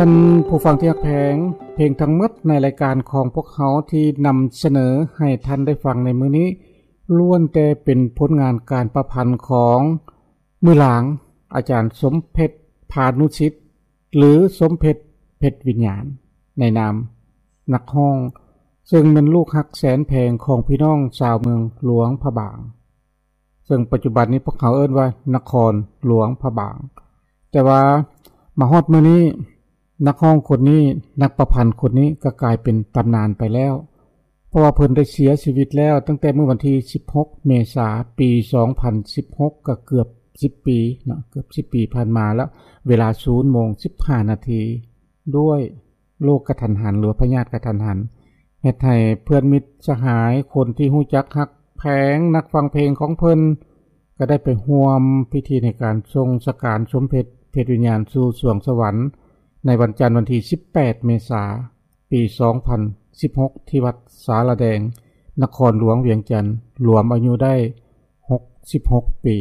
ທ່ານຜູ້ຟັງທີ່ຮັກແພງ, ເພງທັງໝົດໃນລາຍການຂອງພວກເຮົາທີ່ນຳສະເໜີໃຫ້ທ່ານໄດ້ຟັງໃນມື້ນີ້ ລ້ວນແຕ່ເປັນຜົນງານການປະພັນຂອງມື້ຫຼາງ ອາຈານສົມເພັດ ພານຸສິດ ຫຼື ສົມເພັດ ເພັດວິນຍານ ໃນນາມນັກຮ້ອງ ເຊິ່ງແມ່ນລູກຮັກແສນແພງຂອງພີ່ນ້ອງຊາວເມືອງຫຼວງພະບາງ ເຊິ່ງປັດຈຸບັນນີ້ພວກເຮົາເອີ້ນວ່ານະຄອນຫຼວງພະບາງ. ແຕ່ວ່າມາຮອດມື້ນີ້ ນັກຮ້ອງຄົນນີ້, ນັກປະພັນຄົນນີ້ກໍກາຍເປັນຕຳນານໄປແລ້ວ ເພາະວ່າເພິ່ນໄດ້ເສຍຊີວິດແລ້ວຕັ້ງແຕ່ມື້ວັນທີສິບຫົກ ເມສາ ປີສອງພັນສິບຫົກ ກໍເກືອບສິບປີເນາະ, ເກືອບສິບປີຜ່ານມາແລ້ວ ເວລາສູນໂມງສິບຫ້ານາທີ ດ້ວຍໂລກກະທັນຫັນ ຫຼືວ່າພະຍາດກະທັນຫັນ ເຮັດໃຫ້ເພື່ອນມິດສະຫາຍ ຄົນທີ່ຮູ້ຈັກຮັກແພງ ນັກຟັງເພງຂອງເພິ່ນ ກໍໄດ້ໄປຮ່ວມພິທີໃນການສົ່ງສະການສົມເພັດ ເພັດວິນຍານສູ່ສວງສະຫວັນ ໃນວັນຈັນວັນທີສິບແປດ ເມສາ ປີສອງພັນສິບຫົກ ທີ່ວັດສາລາແດງ ນະຄອນຫຼວງວຽງຈັນ ລວມອາຍຸໄດ້ຫົກສິບຫົກປີ.